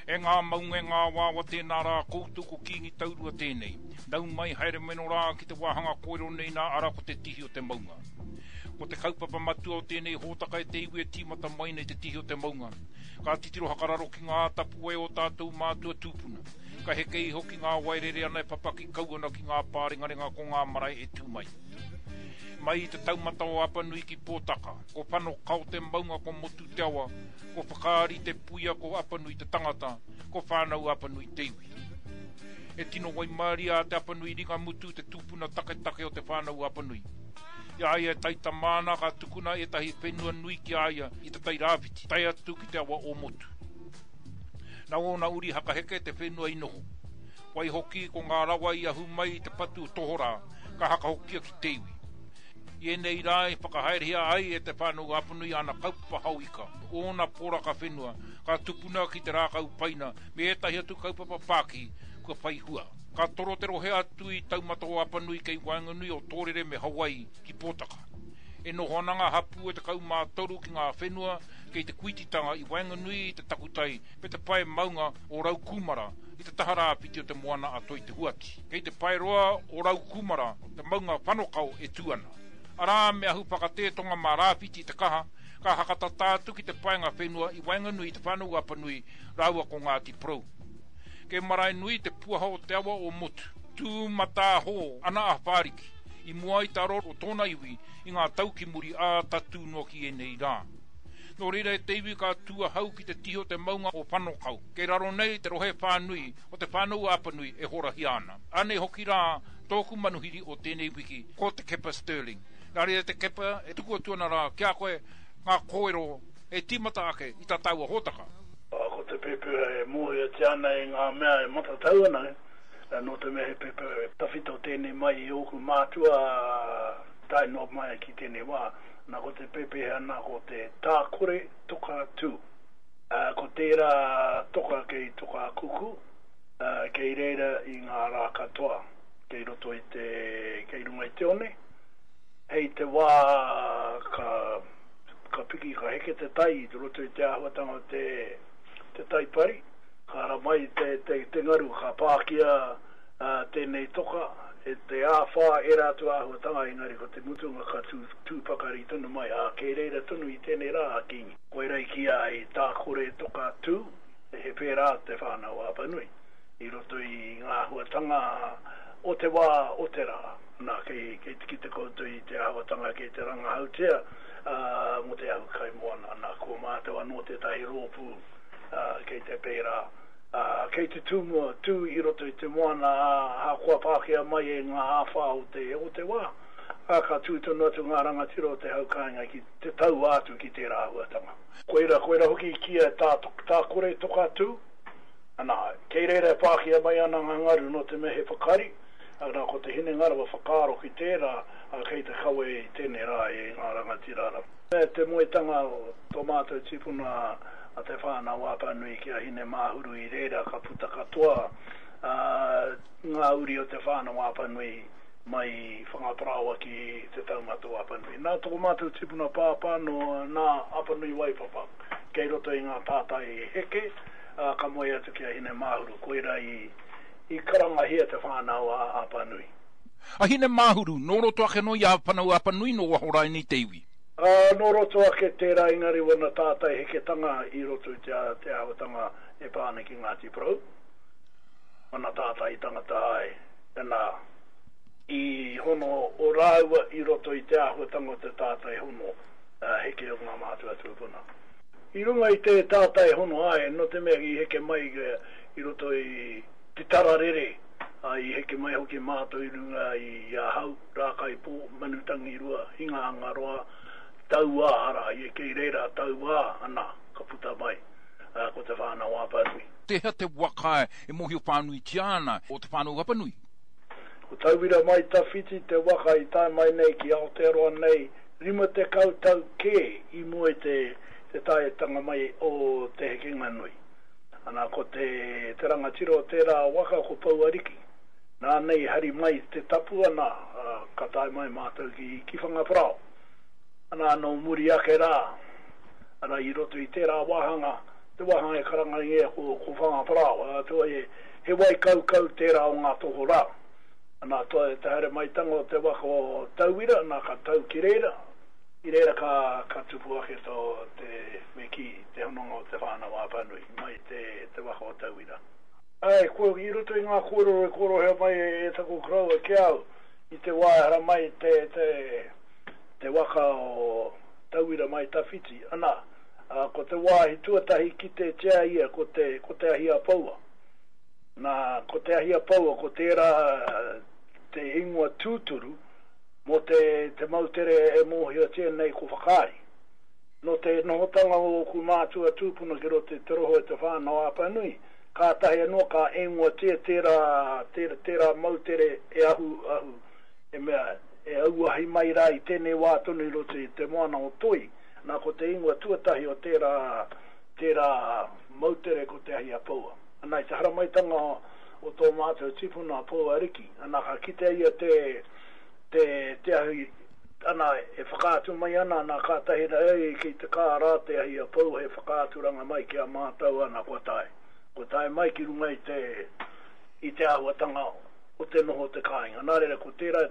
E ngā maunga e ngā awaawa tēnā rā koutou ko Kīngi Taurua tēnei. Nau mai haere mai no rā ki te wāhanga kōrero nei nā ara ko te tihi o te maunga. Ko te kaupapa matua o tēnei hōtaka e te iwi e tīmata mai nei te tihi o te maunga. Ka titiro hakararo ki ngā tapuwae o tātou mātua tūpuna. Ka heke iho ki ngā wai rere ana e papaki kau ana ki ngā pārengarenga ko ngā marae e tū mai. Mai i te taumata o Apanui ki Pōtaka, ko Whanokao te maunga ko Motu te awa, ko Whakaari te puia ko Apanui te tangata, ko Whānau Apanui te iwi. E tino waimaria a Te Apanui Ringamutu te tupuna taketake o Te Whānau Apanui. I a ia e taitama ana ka tukuna ētahi whenua nui ki a ia i te Tai Rāwhiti, tae atu ki te awa o Motu. Nā ōna uri hakaheke te whenua i noho. Waihoki ko ngā rawa i ahu mai i te patu tohorā ka hakahokia ki te iwi. I ēnei rā i whakahaerehia ai e Te Whānau Apanui āna kaupapa hao ika, ōna poraka whenua, ka tupuna ki te rākau paina me ētahi atu kaupapa pākihi kua whai hua. Ka toro te rohe atu i Taumata o Apanui kei waenganui o Tōrere me Hawaii ki Pōtaka. E noho ana ngā hapū e 13 ki ngā whenua kei te kuititanga i waenganui i te takutai me te pae maunga o Raukūmara i te taha rāwhiti o te moana a Toi-te-huati. Kei te paeroa o Raukūmara te maunga Whanokao e tū ana. Arā, me ahu whakatētonga mā Rāwhiti te kaha, ka hakatata atu ki te paenga whenua i waenganui i Te Whānau-a-Apanui rāua ko Ngāti Porou. Kei Maraenui te puaha o te awa o Motu, tū matāhō ana a Whāriki i mua i te aro o tōna iwi i ngā tau ki muri ā tatū noa ki ēnei rā. Nō reira e te iwi ka tū ahau ki te tihi o te maunga o Whanokao, kei raro nei te rohe whānui o Te Whānau-a-Apanui e horahia ana. Anei hoki rā tōku manuhiri o tēnei wiki, ko Te Kepa Stirling. Nā reira Te Kepa, e tuku atu ana rā ki a koe ngā kōrero e tīmata ake i tā tāua hōtaka. Ko te pepeha e mōhiotia ana e ngā mea e matatau ana, nō te mea he pepeha tawhito tēnei mai i ōku mātua tae noa mai ki tēnei wā. Nā, ko te pepeha nā ko te tākore toka tū. Ko tērā toka kei Tokakuku, kei reira i ngā rā katoa, kei roto i te, kei runga i te one. Hei te wā ka, ka piki, ka heke te tai i roto i te āhuatanga o te, te tai pari, ka ara mai te, te, te ngaru, ka pākia tēnei toka e te āwhā ērā atu āhuatanga, engari ko te mutunga ka tū, tū pakari tonu mai, ā, kei reira tonu i tēnei rā a Kīngi. Koira i kīia ai tākore toka tū, he pērā te Whānau Apanui i roto i ngā āhuatanga o te wā, o te rā. Nā, kei, kei te kite koutou i te āhuatanga kei te rangahautia mō te ahu kaimoana. Nā, ko mātou anō tētahi rōpū kei te pērā, kei te tū mua, tū i roto i te moana, ā, ahakoa pākehā mai e ngā āwhā o te, o te wā, ā, ka tū tonu atu ngā rangatira o te hau kāinga ki te taua atu ki tērā āhuatanga. Koira, koira hoki i kīia e tā, tā kore toka tū, ana, kei reira e pākia mai ana ngā ngaru nō te mea he whakari, ana, ko te hinengaro e whakaaro ki tērā, ā, kei te kawe i tēnei rā e ngā rangatira ana. Me te moetanga o tō mātou tipuna a Te Whānau Apanui ki a Hinemāhuru i reira ka puta katoa, ā, ngā uri o Te Whānau Apanui mai i Whangaparāoa ki Te Taumata o Apanui. Nā tō mātou tipuna pāpā nō nā Apanui Waipapa kei roto i ngā tātai heke, ā, ka moe atu ki a Hinemāhuru, koirā i, i karangahia Te Whānau a Apanui. A Hinemāhuru, nō roto ake nō i a Whanau Apanui nō waho rainei te iwi. Ā, nō roto ake tērā engari wana tātai heketanga i roto i te, te āhuatanga e pā ana ki Ngāti Porou. Wana tātai tangata ai. Nā, i hono o rāua i roto i te āhuatanga o te tātai hono heke o ngā mātua tūpuna. I runga i te tātai hono āe, nō te mea i heke mai i roto i te tara rere, ā, i heke mai hoki mātou i runga i a Hau, Rākaipō, Manutangirua, Hingahangaroa, Tauā, arā, i kei reira a Tauā, ana, ka puta mai, ā, ko Te Whānau-a-Apanui. Tēhea te waka e mōhio whānuitia ana o Te Whānau-a-Apanui? Ko Tauira Mai Tawhiti te waka i tae mai nei ki Aotearoa nei 50 tau kē i mua i te te taetanga mai o Te Hekenga Nui. Ana, ko te te rangatira o tērā waka ko Pouariki. Nāna i hari mai te tapu, ana, ka tae mai mātou ki, ki Whangaparāoa. Ana, nō muri ake rā, ana, i roto i tērā wāhanga. te wāhanga e karangaringia ko, ko Whangaparāoa, ā, he, he wai kaukau tērā o ngā tohorā. Ana, te haere maitanga o te waka o Tauira, nā, ka tau ki reira, i reira ka, ka tupu ake tō te, me kī, te hononga o Te Whānau-a-Apanui mai te, te waka o Tauira. Āe, ko, i roto i ngā kōrero i kōrohea mai e, e taku koroua ki a au, i te wā e haramai te, te, te waka o Tauira mai tawhiti, ana, ā, ko te wāhi tuatahi kitetia ia ko te, ko Te Ahi-a-Paua. Nā, ko Te Ahi-a-Paua, ko tērā te ingoa tūturu mō te, te moutere e mōhiotia nei ko Whakaari. Nō te nohotanga o ōku mātua tūpuna ki roto i te rohe o Te Whānau-a-Apanui, kātahi anō ka ingoatia tērā, tērā, tērā moutere e ahu, ahu, e mea, e auahi mai rā i tēnei wā tonu i roto i te moana o Toi. Nā, ko te ingoa tuatahi o tērā, tērā moutere ko Te Ahi-a-Paua. Ana, i te haramaitanga o tō mātou tipuna a Pouariki, ana, ka kitea ia te, te, te ahi, ana, e whakaatu mai ana, ana, kātahi rā, ei, kei te kā rā Te Ahi-a-Paua he whakaaturanga mai ki a mātou, ana, kua tae. Kua tae mai ki runga i te, i te āhuatanga o te noho o te kāinga. Nā reira, ko tērā,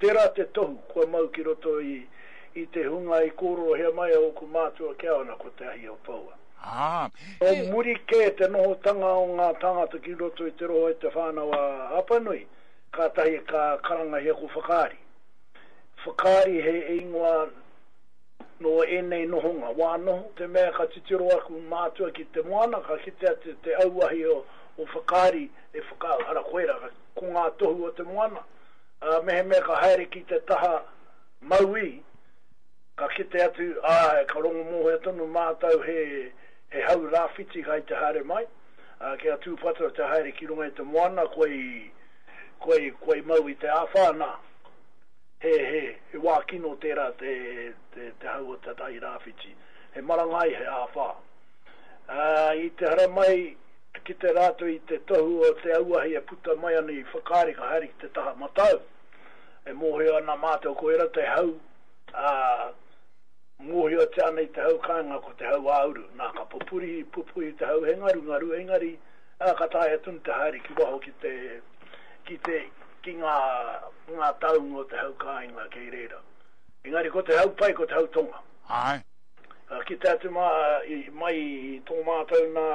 tērā te tohu kua mau ki roto i, i te hunga i kōrorohia mai e ōku mātua ki a au, ana, ko Te Ahi-o-Paua. Ā, Nō e. muri kē te nohotanga o ngā tāngata ki roto i te rohe o Te Whānau-a-Apanui, kātahi ka karangahia ko Whakaari. Whakaari he ingoa nō ēnei nohonga, wā noho, te mea ka titiro aku mātua ki te moana, ka kite atu te auahi o Whakaari e whakaau, ara koirā, ko ngā tohu o te moana, ā, mehemea ka haere ki te taha mauī, Ka kite atu, āe, ka rongo mōhio tonu mātou he, he hau rāwhiti kai te haere mai, ā, kia tūpato te haere ki runga i te moana, kua i, kua i, kua i mau i te āwhā, nā, he, he, he wā kino tērā te, te, te hau o te tai rāwhiti. He marangai, he āwhā. Ā, i te haramai, kite rātou i te tohu o te auahi e puta mai ana i Whakaari, ka haere ki te taha matau. E mōhio ana mātou koirā te hau, ā, mōhiotia ana i te hau kāinga ko te hau ā-uru. Nā, ka pupuri, pupuhi te hau he ngarungaru, engari, ā, ka taea tonu te haere ki waho ki te, ki te, ki ngā, ngā taunga o te hau kāinga kei reira. Engari ko te hau pai ko te hau tonga. Āe. Ka kite atu mā, i, mai i tō mātou nā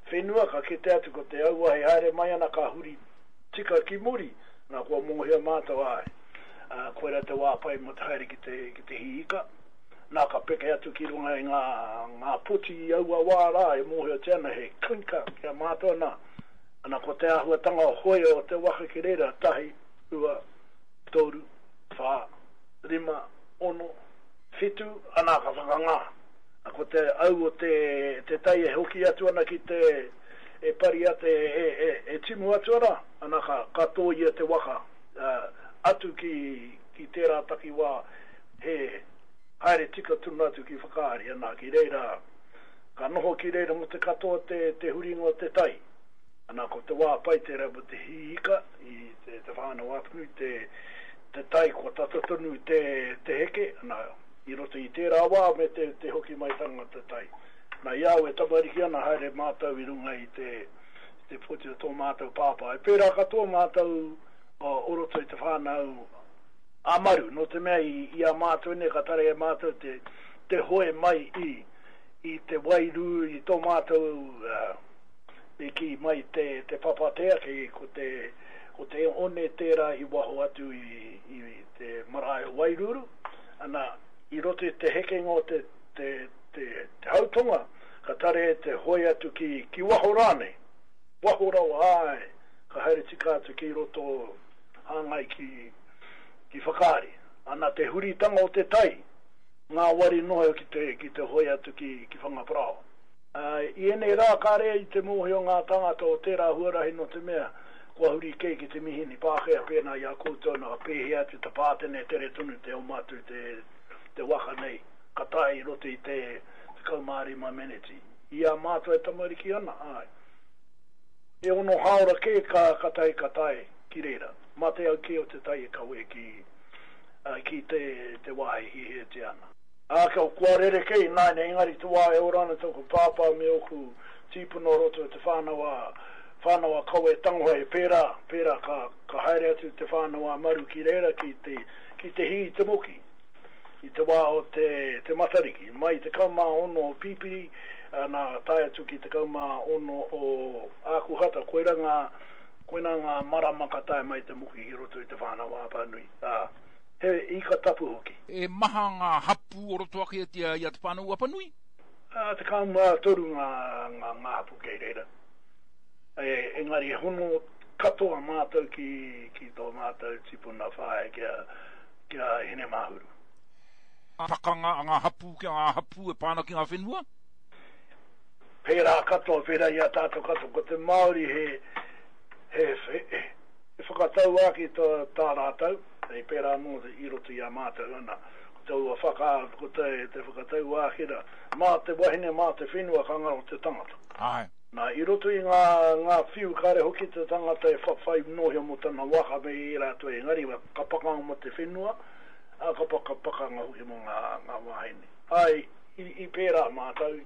whenua, ka kite atu ko te auahi haere mai ana ka huri tika ki muri, nā kua mōhio mātou, āe. Ā, koirā te wā pai mō te haere ki te, ki te hī ika. Nā, ka peke atu ki runga i ngā, ngā poti i aua wā rā e mōhiotia ana he clinker ki a mātou, nā, ana ko te āhuatanga hoe o te waka ki reira, tahi, rua, toru, whā, rima, ono, whitu, ana ka whakangā. Nā, ko te au o te, te tai e hoki atu ana ki te, e pari ate, e, e, e timu atu ana, ana ka, ka tōia te waka. Atu ki, ki tērā takiwā, he haere tika tonu atu ki Whakaari, ana, ki reira, ka noho ki reira mō te katoa te, te huringa o te tai. Ana, ko te wā pai tērā mō te hī ika i te, te Whānau-a-Apanui, te, te tai kua tata tonu te, te heke, ana, i roto i tērā wā me te, te hoki maitanga o te tai. Na, i a au e tamariki ana, haere mātou i runga i te, te poti o tō mātou pāpā. E pērā katoa mātou o roto i te whānau a Maru, nō te mea i, i a mātou nei ka taea e mātou te, te hoe mai i, i te wairū, i tō mātou uh, i kī mai te, te papatea, kei, ko te, ko te one tērā i waho atu i, i te marae o Wairuru, ana, i roto i te hekenga o te, te, te, te hautonga, ka tarea te hoe atu ki, ki waho rānei, waho rawa, āe, ka haere tika atu ki roto hāngai ki, ki Whakaari. Ana te huritanga o te tai, ngāwari noa ki te, ki te hoe atu ki, ki Whangaparāoa. Ā, i ēnei rā kāre i te mōhio ngā tāngata o tērā huarahi nō te mea kua huri kē ki te mihini Pākehā pēnā i a koutou nā ka pēhea atu te pātene tere tonu te oma atu te, te waka nei ka tae i roto i te 15 meneti. I a mātou e tamariki ana, āe. E ono hāora kē ka ka tae ka tae ki reira. Mā te au kē o te tai e kawē ki ki te te wāhi e hiahiatia ana. Ā, kia kua rerekē ināianei, engari te wā e ora ana tōku pāpā me ōku tīpuna o roto i te whānau a, whānau a Kawe Tangoha he pērā, pērā ka, ka haere atu te whānau a Maru ki reira ki te, ki te hī i te moki i te wā o te, te Matariki. Mai 16 o Pipiri, nā, tae atu ki 16 o Ākuhata, koirā ngā, koinā ngā marama ka tae mai te moki ki roto i te whānau a Apanui, ā. He ika tapu hoki. E maha ngā hapū o roto ake i a Te Whānau-a-Apanui? 13 ngā hapū kei reira. Engari he hono katoa mātou ki tō mātou tipuna whaea ki a Hinemāhuru. Pakanga a ngā hapū ki a ngā hapū e pā ana ki ngā whenua? Pērā katoa, pērā i a tātou katoa. Ko te Māori he, he, he whakatauākī tā rātou. Hei pērā anō i roto i a mātou, ana, ko taua whaka, ko te, te whakatauākī rā, mā te wahine, mā te whenua ka ngaro te tangata. Āe. Nā, i roto i ngā, ngā whiu kāre hoki te tangata e whawhai nōhia mō tana waka me ērā atu engari ka pakanga mō te whenua, ā, ka paka, pakanga hoki mō ngā, ngā wāhine. Āe, i, i pērā mātou,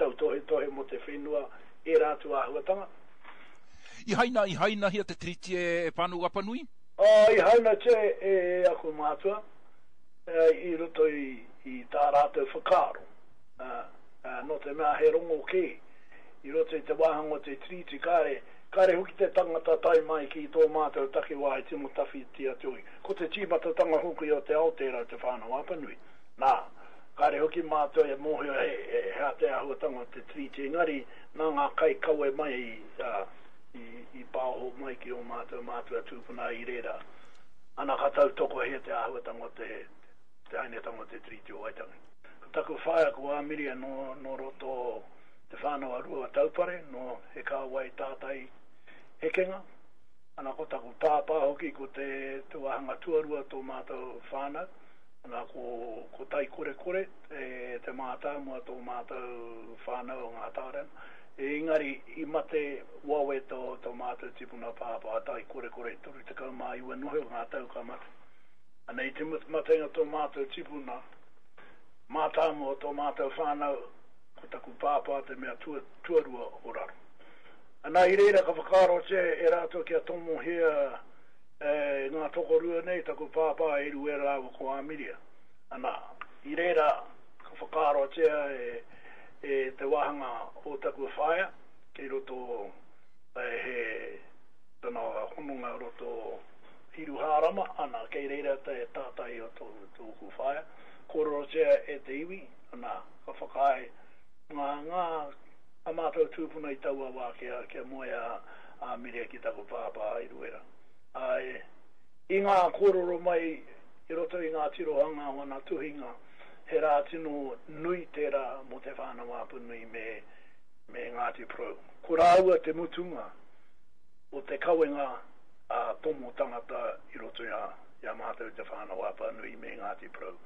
tautohetohe mō te whenua, ērā atu āhuatanga. I haina, i hainahia te Tiriti e, e Whānau Apanui? Ā, i hainatia e aku mātua i roto i tā rātou whakaaro, ā, nō te mea he rongo kē i roto i te wāhanga o te Tiriti, kāre, kāre hoki te tangata tae mai ki tō mātou takiwā i tino tawhiti atu hoki. Ko te tīmatatanga hoki o te ao tērā o Te Whānau-a-Apanui. Nā, kāre hoki mātou e mōhio he, he aha te āhuatanga o te Tiriti, engari nā ngā kaikawe mai, ā, i pāoho mai ki ō mātou mātua tūpuna i reira, ana ka tautokohia te āhuatanga o te, te hainetanga o te Tiriti o Waitangi. Ko taku whaea ko Āmiria nō, nō roto o Te Whānau a Rua Taupare, nō He Kāwai Tātai Hekenga. Ana ko taku pāpā hoki ko te, te wāhanga tuarua tō mātou whānau. Ana ko, ko Taikorekore te, te mātāmua tō mātou whānau o Ngā Tārena. Engari i mate wawe tō tō mātou tipuna pāpā Taikorekore 39 noho ngā tau ka mate. Ana i te matenga tō mātou tipuna mātāmua o tō mātou whānau ko taku pāpā te mea tua, tuarua o raro. Ana i reira ka whakaarotia e rātou kia tomohia e ngā tokorua nei taku pāpā e Eruera rāua ko Āmiria. Ana i reira ka whakaarotia e e te wāhanga o taku whaea kei roto he tana hononga roto o Hiruhārama, ana, kei reira te tātai o tōku whaea. Kōrerotia e te iwi, ana, ka whakaae ngā, ngā, a mātou tūpuna i taua wā kia, kia moe a, a Miria ki taku pāpā i Ruera. Āe, i ngā kōrero mai i roto i ngā tirohanga o ana tuhinga, He rā tino nui tērā mō Te Whānau-a-Apanui me, me Ngāti Porou. Ko rāua te mutunga o te kawenga a tomo tangata i roto i a, i a mātou Te Whānau-a-Apanui me Ngāti Porou.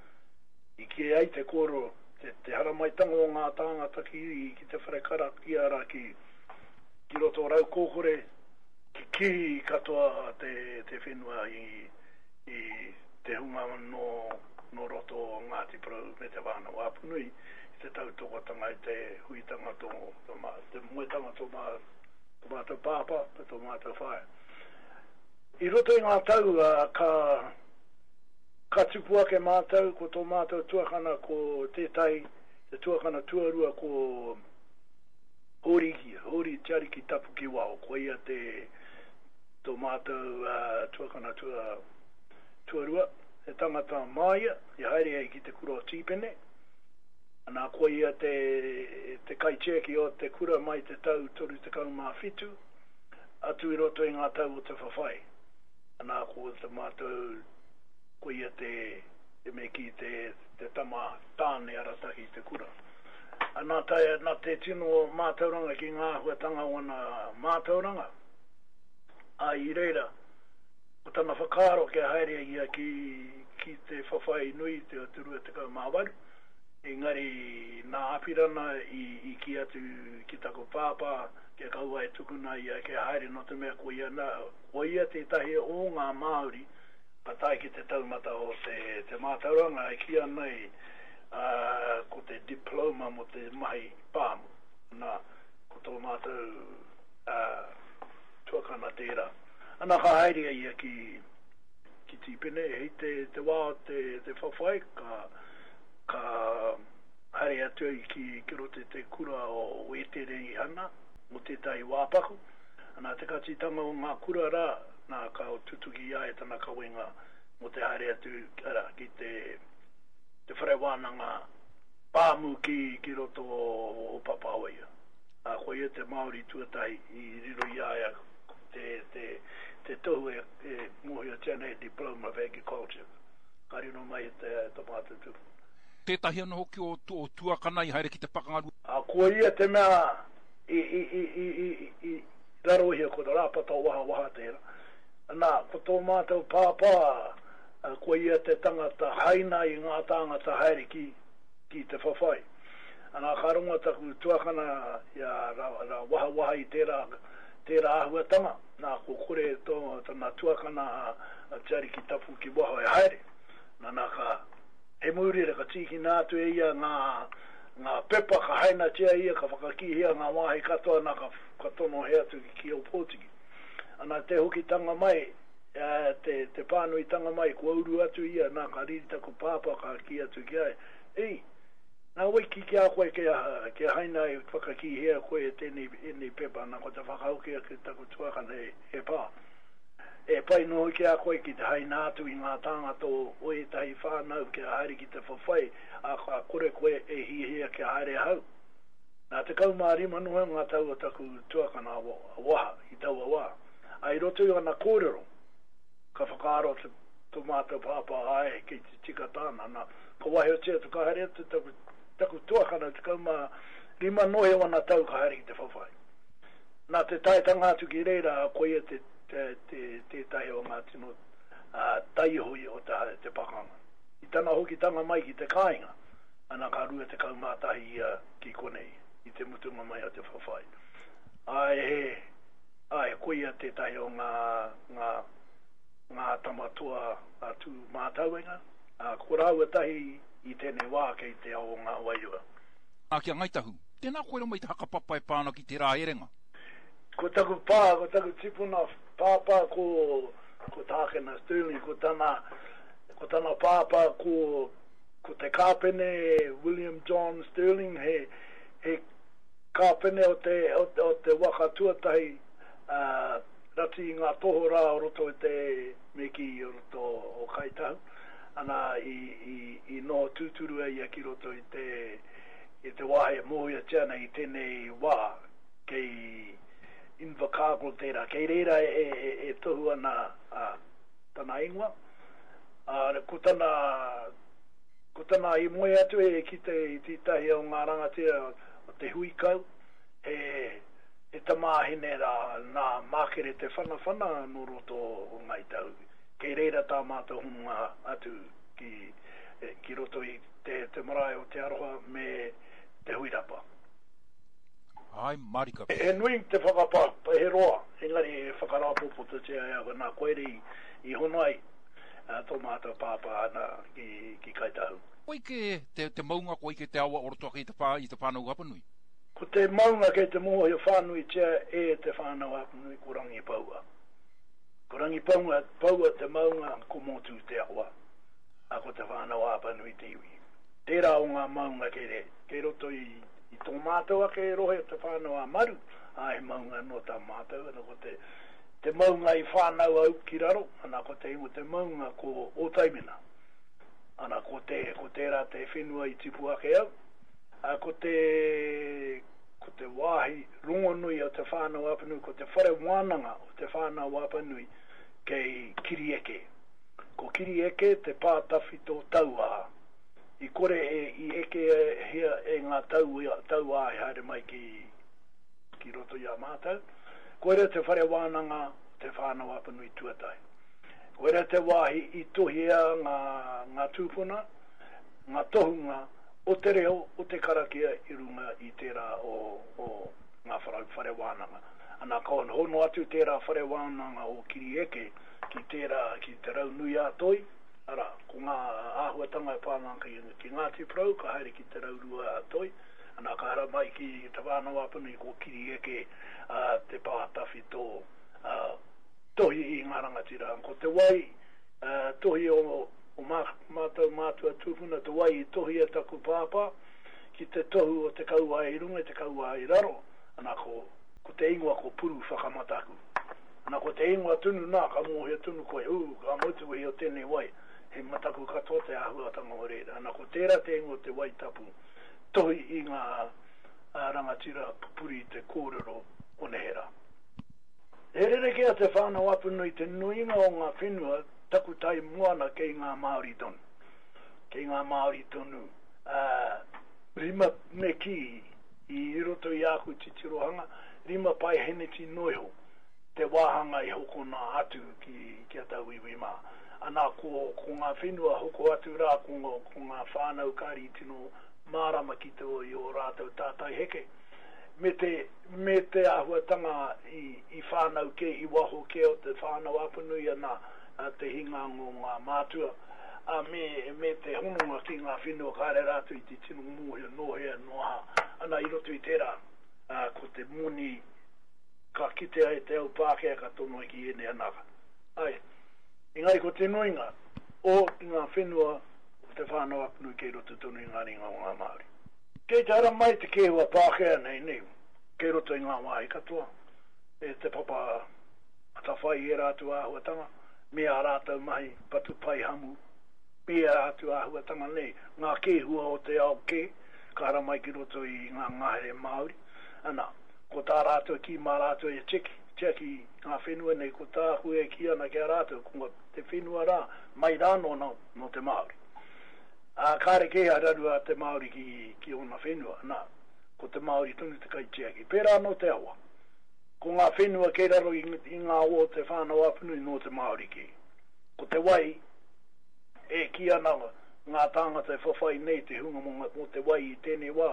I kī ai te kōrero, te, te haramaitanga o ngā tāngata ki, ki te whare karakia rā ki, ki roto o Raukōkore, kikī katoa te, te whenua i, i te hunga nō, nō roto o Ngāti Porou me Te Whānau-a-Apanui i te tautokotanga i te huitanga tō, tō mā, te moetanga tō mā, tō mātou pāpā me tō mātou whaea. I roto i ngā tau, ka, ka tupu ake mātou, ko tō mātou tuakana ko tētahi, te tuakana tuarua ko Hōri, Hōri Te Ariki Tapukiwao, ko ia te, tō mātou tuakana tua, tuarua, he tangata māia i haere ai ki te kura o Tīpene, ana ko ia te, te kaitiaki o te kura mai te tau 37, atu i roto i ngā tau o te whawhai. Ana ko te mātou, ko ia te, te me kī te, te tama tāne arataki i te kura. Ana tae, na te tino mātauranga ki ngā āhuatanga o ana mātauranga, ā, i reira, ko tana whakaaro kia haere ia ki, ki te whawhai nui te o te 28, engari nā Apirana i, i kī atu ki taku pāpā kia kaua e tukuna ia kia haere nō te mea ko ia, nā, ko ia tētahi o ngā Māori ka tae ki te taumata o te, te mātauranga e kī ana i. ā, ko te diploma mō te mahi pāmu. Nā, ko tō mātou, ā, tuakana tērā. Ana, ka haere a ia ki, ki Tīpene, hei te, te wā o te, te whawhai, ka, ka haere atu ai ki, ki roto i te kura o Wēterehana mō tētahi wā paku. Ana, te katitanga o ngā kura rā, nā, ka tutuki i a ia tana kawenga mō te haere atu, arā, ki te, te whare wānanga pāmu ki, ki roto o Papaoia. Ā, ko ia te Māori tuatahi i riro i a ia te, te, te tohu e, e mōhiotia nei Diploma of Agriculture. Ka riro mai i te, tō mātou tupuna. Tētahi anō hoki o, o tuakana i haere ki te pakanga. Ā, ko ia te mea i, i, i, i, i, i rarohia ko Rāpata Wahawaha tērā. Nā, ko tō mātou pāpā, ko ia te tangata haina i ngā tāngata haere ki, ki te whawhai. Anā, ka rongo taku tuakana i a Ra, Ra Wahawaha i tērā, tērā āhuatanga, nā, ko kore tō, tana tuakana a, a Te Ariki Tapu ki waho e haere. Nā, nā, ka, he mūrira, ka tīkina atu e ia ngā, ngā pepa, ka hainatia ia, ka whakakīhia ngā wāhi katoa, nā, ka, ka tonohe atu ki, ki Ōpōtiki. Ana, te hokitanga mai, te, te pānuitanga mai, kua uru atu ia, nā, ka riri taku pāpā, ka kī atu ki a ia, Ei, nā wai kī ki a koe kia, kia haina e whakakīhia koe e tēnei, ēnei pepa, nā, ko te whakahoki ake taku tuakana, e, e pā. E pai noa ki a koe ki te haina atu i ngā tāngata o, o ētahi whānau kia haere ki te whawhai, ā, ka kore koe e hiahia kia haere ahau. Nā, 15 noa ngā tau o taku tuakana a Waha i taua wā. Ā, i roto i ana kōrero, ka whakaaro te, tō mātou pāpā, āe, kei te tika tāna. Nā, ka waihotia atu, ka haere atu taku, taku tuakana, 15 noa iho ana tau ka haere ki te whawhai. Nā te taetanga atu ki reira, koia te, te, te, tētahi o ngā tino ā, taiohi o te, te pakanga. I tana hokitanga mai ki te kāinga, ana ka 21 ia ki konei i te mutunga mai o te whawhai. Āe, he, āe, koia tētahi o ngā, ngā, ngā tama toa a Tūmātauenga, ā, ko rāua tahi i tēnei wā kei te ao o ngā wairua. Ā, ki a Ngāi Tahu. Tēnā koe mai te hakapapa e pā ana ki tērā herenga. Ko taku pā, ko taku tipuna pāpā ko, ko Tākena Stirling, ko tana, ko tana pāpā ko Ko te kāpene William John Stirling he, he kāpene o te, o, o te waka tuatahi uh, rati i ngā tohorā o roto i te me kī o roto o Kāi Tahu. Ana, i, i, i noho tūturu a ia ki roto i te, i te wāhi e mōhiotia ana i tēnei wā kei Invercargill tērā. Kei reira e, e, e tohu ana a, tana ingoa. Ā, ko tana, ko tana i moe atu e kite i tētahi o ngā rangatira o te hui kau, he, he tamāhine rā nā Mākere Te Whanawhana nō roto o Ngāi Tahu. Kei reira tā mātou hononga atu ki, ki roto i te, te marae o Te Aroha me Te Huirapa. Āe marika. He nui te whakapā, he roa, engari e whakarāpopototia e ahau, nā koe rei i hono ai tō mātou pāpā ana ki, ki Kāi Tahu. Koi kē te, te maunga, koi kē te awa o roto ake i te whā, i te Whānau Apanui. Ko te maunga kei te mōhio whānuitia e te Whānau Apanui ko Rangipaua. Ko Rangipaua Paua te maunga, ko Mōtū te awa, ā, ko te Whānau Apanui te iwi. Tērā o ngā maunga kei re, kei roto i, i tō mātou ake rohe o Te Whānau a Maru, ā, he maunga anō tā mātou, ana ko te, te maunga i whānau au ki raro, ana ko te ingoa te maunga ko Ōtaimena. Ana ko te, ko tērā te whenua i tipu ake au, ā, ko te, ko te wāhi rongonui o Te Whānau-a-Apanui, ko te whare wānanga o Te Whānau-a-Apanui kei Kirieke. Ko Kirieke te pā tawhito tauā. I kore e i ekehia e ngā tauā i haere mai ki, ki roto i a mātou. Koira te whare wānanga o Te Whānau-a-Apanui tuatahi. Koira te wāhi i tohia ngā, ngā tūpuna, ngā tohunga o te reo, o te karakia i runga i tērā o, o ngā whare, whare wānanga. Ana, ka hono atu tērā whare wānanga o Kirieke ki tērā, ki Te Raunui-ā-Toi. Arā, ko ngā āhuatanga e pā ana ki, ki Ngāti Porou, ka haere ki Te Raurua a Toi, ana ka haramai ki Te Whānau-a-Apanui ko Kirieke a te pā tawhito a tohi i ngā rangatira. Ko te wai a tohi o, o mā, mātou mātua tūpuna, te wai i tohi e taku pāpā, ki te tohu o te kauae i runga, te kauae i raro, ana ko, ko te ingoa ko Puru Whakamataku. Ana ko te ingoa tonu nā, ka mōhio tonu koe, ū, ka mau te wehi o tēnei wai, he mataku katoa te āhuatanga o reira. Ana ko tērā te ingoa o te wai tapu, tohi i ngā rangatira pupuri i te kōrero o neherā. He rerekē a Te Whānau Apanui te nuinga o ngā whenua takutai moana kei ngā Māori tonu. Kei ngā Māori tonu, ā, rima me kī i roto i āku titirohanga, 5 paeheneti noa iho te wāhanga i hokona atu ki, ki a tauiwi mā. Ana, ko, ko ngā whenua hoko atu rā, ko, ko ngā whānau kāri i tino mārama ki te, i ō rātou tātai heke, me te, me te āhuatanga i, i whānau kē, i waho kē o Te Whānau Apanui, ana, te hinganga o ngā mātua, ā, me, me te hononga ki ngā whenua kāre rātou i te tino mōhio nō hea, nō aha, ana, i roto i tērā. ā, ko te moni ka kitea e te au Pākehā ka tonoa ki ēnei anaka. Āe. Engari ko te nuinga o ngā whenua o Te Whānau-a-Apanui kei roto tonu i ngā ringa o ngā Māori. Kei te haramai te kēhua Pākehā nei, nei, kei roto i ngā wāhi katoa, e Te Papa Atawhai i ērā atu āhuatanga, me ā rātou mahi patu paihamu, me ērā atu āhuatanga nei, ngā kēhua o te ao kē, ka haramai ki roto i ngā ngahere Māori, ana, ko tā rātou kī mā rātou e tiaki, tiaki ngā whenua nei, ko tāku e kī ana ki a rātou, ko te whenua rā, mai rānō nō, nō te Māori. Ā, kāre kē a raru a te Māori ki, ki ōna whenua, ana, ko te Māori tonu te kaitiaki. Pērā anō te awa. Ko ngā whenua kei raro i, i ngā awa o Te Whānau-a-Apanui nō te Māori kē. Ko te wai, e kī ana ngā tāngata e whawhai nei te hunga mō te wai i tēnei wā,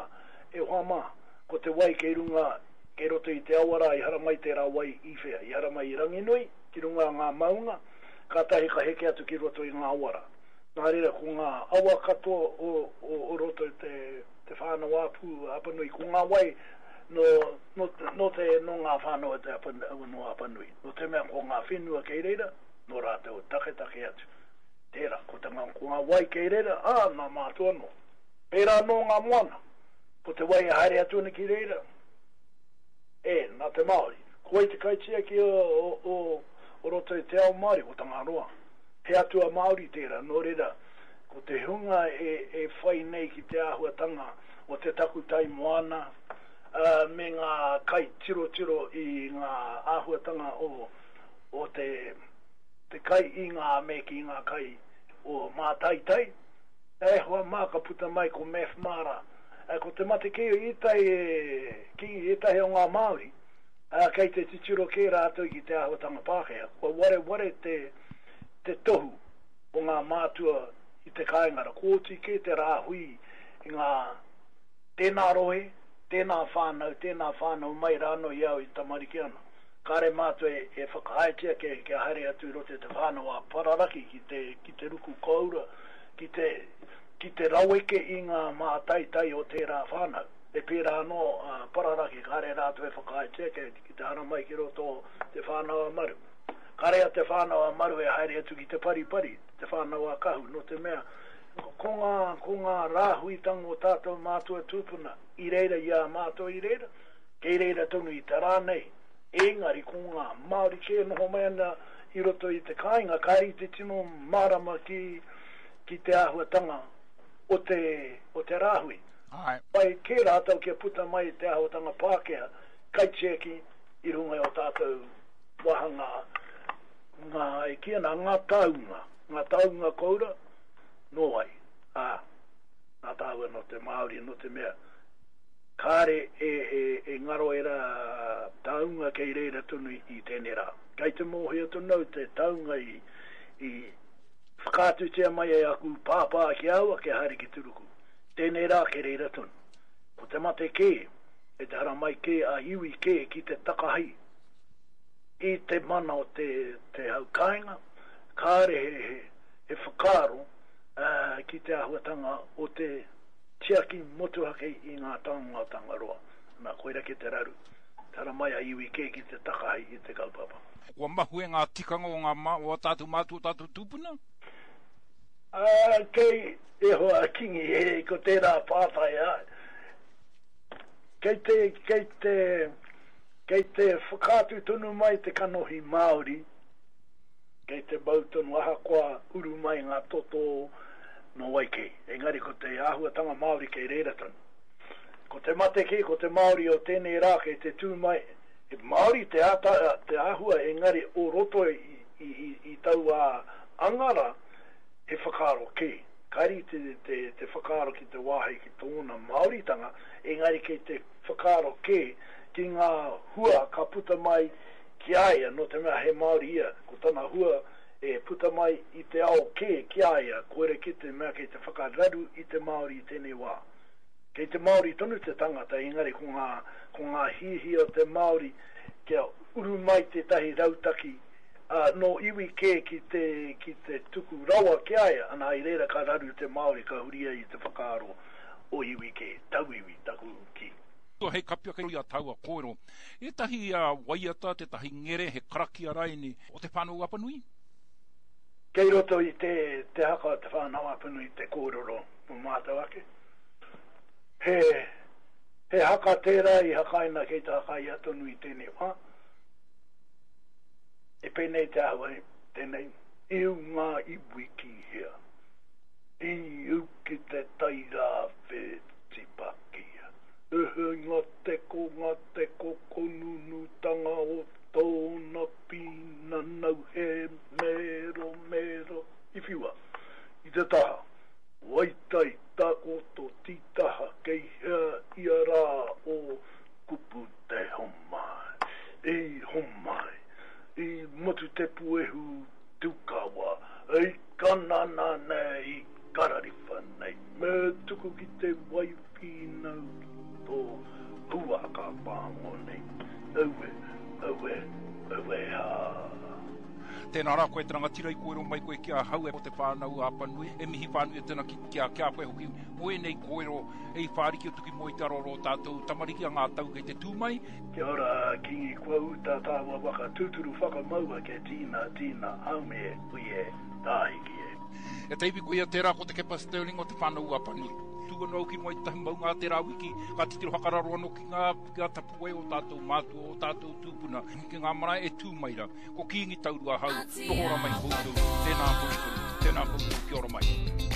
e hoa mā, ko te wai kei runga, kei roto i te awa rā, i haramai tērā wai i whea? I haramai i Ranginui, ki runga ngā maunga, kātahi ka heke atu ki roto i ngā awa rā. Nā reira, ko ngā awa katoa o, o, o roto i te, te Whānau-ā-Pū, Apanui, ko ngā wai nō, nō, nō te, nō ngā whānau o te Apa, nō Apanui. Nō te mea ko ngā whenua kei reira, nō rātou taketake atu. Tērā, ko te ngā, ko ngā wai kei reira, ā, nā mātou anō. Pērā anō ngā moana, ko te wai e haere atu ana ki reira, e, nā te Māori. Ko wai te kaitiaki o, o, o, o roto i te ao Māori? Ko Tangaroa. He atua Māori tērā, nō reira, ko te hunga e, e whai nei ki te āhuatanga o te takutai moana, ā, me ngā kaitirotiro i ngā āhuatanga o, o te, te kai i ngā me ki ngā kai o Mātaitai, e hoa mā ka puta mai ko Math Mara. E, ko te mate kē i tae ki ētahi o ngā Māori, ā, kei te titiro kē rātou ki te āhuatanga Pākehā. Kua wareware te, te tohu o ngā mātua i te kāinga ra. Kua oti kē te rāhui i ngā tēnā rohe, tēnā whānau, tēnā whānau mai rānō i au i tamariki ana. Kāre mātou e whakaaetia kia haere atu i roto i te whānau a Pararaki ki te, ki te ruku kōura, ki te, ki te raweke i ngā mātaitai o tērā whānau. E pērā anō a Pararaki, kāre rātou e whakaaetia kia, ki te haramai ki roto o Te Whānau a Maru. Kāre a Te Whānau a Maru e haere atu ki te paripari, Te Whānau a Kahu, nō te mea, ko ngā, ko ngā rāhuitanga o tātou mātua tūpuna i reira i a mātou i reira, Kei reira tonu i te rā nei, ēngari ko ngā Māori kē e noho mai ana i roto i te kāinga, kāre i te tino mārama ki, ki te āhuatanga o te, o te rāhui. Āe. Whai kē rātou kia puta mai te āhuatanga Pākehā, kaitiaki i runga i ō tātou wāhanga, ngā, e kī ana, ngā taunga, ngā taunga koura, nō wai? Ā, nā tāua nō te Māori, nō te mea, Kāre e ngaro ērā taunga kei reira tonu i tēnei rā. Kei te mōhio tonu au te taunga i whakaatutia mai e aku pāpā ki a au kia haere ki Turuku. Tēnei rā kei reira tonu. Ko te mate kē, kei te haramai kē a iwi kē ki te takahi i te mana o te hau kāinga, kāre he. he whakaaro ki te āhuatanga o te tiaki motuhake i ngā taonga o Tangaroa. Nā, koira kē te raru. Tara mai a iwi kē ki te takahi i te kaupapa. Kua mahue ngā tikanga o ngā o ā tātou mātua, o tātou tūpuna? Ā, kei, e hoa a Kingi, e, ko tērā pātai, āe. Kei te, kei te, kei te whakaatu tonu mai te kanohi Māori, kei te mau tonu ahakoa uru mai ngā toto nō wai kē. Engari ko te āhuatanga Māori kei reira tonu. Ko te mate kē, ko te Māori o tēnei rā kei te tū mai, he Māori te ata, te āhua engari o roto i, i, i, i taua anga rā, he whakaaro kē. Kāre i te, te, te whakaaro ki te wāhi ki tōna Māoritanga, engari kei te whakaaro kē ki ngā hua ka puta mai ki a ia, nō te mea he Māori ia, ko tana hua e puta mai i te ao kē ki a ia, koira kē te mea kei te whakararu i te Māori i tēnei wā. Kei te Māori tonu te tangata, engari ko ngā, ko ngā hiahia o te Māori kia uru mai tētahi rautaki, ā, nō iwi kē ki te, ki te tuku rawa ki a ia, ana, i reira ka raru te Māori, ka huri ai i te whakaaro o iwi kē, tauiwi taku kī. Hei kapi ake i a taua kōrero, ētahi waiata, tētahi ngere, he karakia raini o Te Whānau-a-Apanui? Kei roto i te, te haka o Te Whānau-a-Apanui te kōrero mō mātou ake. He, he haka tērā i hakaina kei te hakaia tonu i tēnei wā. E pēnei te āhua tēnei, Iu ngā iwi ki hea? Iu ki te Tairāwhiti Pakia. Ehe ngā teko, ngā teko konunutanga o tōna pīnanau he meromero i whiua i te taha. Waitai takoto titaha kei hea ia rā o kupu te homai, i homai, i motu te puehu tukawa, i kanana nei, i karariwha nei, me tuku ki te wai whīnau ki tō huaka pāngo nei, aue, aue, aue hā. Tēnā rā koe te rangatira i kōrero mai koe ki ahau e o Te Whānau a Apanui, e mihi whānui atu ana ki a ki a koe hoki mō ēnei kōrero e i whāriki atu ki mua i te aroaro o tātou tamariki a ngā tau kei te tū mai. Kia ora Kingi kua ū tā tāua waka tūturu whakamaua kia tīna tīna haumi e hui e tāhiki e. E te iwi koia tērā ko Te Kepa Stirling o Te Whānau a Apanui. Tū anō au ki runga i tētahi maunga ā tērā wiki, ka titiro whakararo anō ki ngā, ki ngā tapuwae o tātou mātua, o tātou tūpuna, ki ngā marae e tū mai rā. Ko Kīngi Taurua ahau, noho ora mai koutou, tēnā koutou, tēnā koutou, kia ora mai.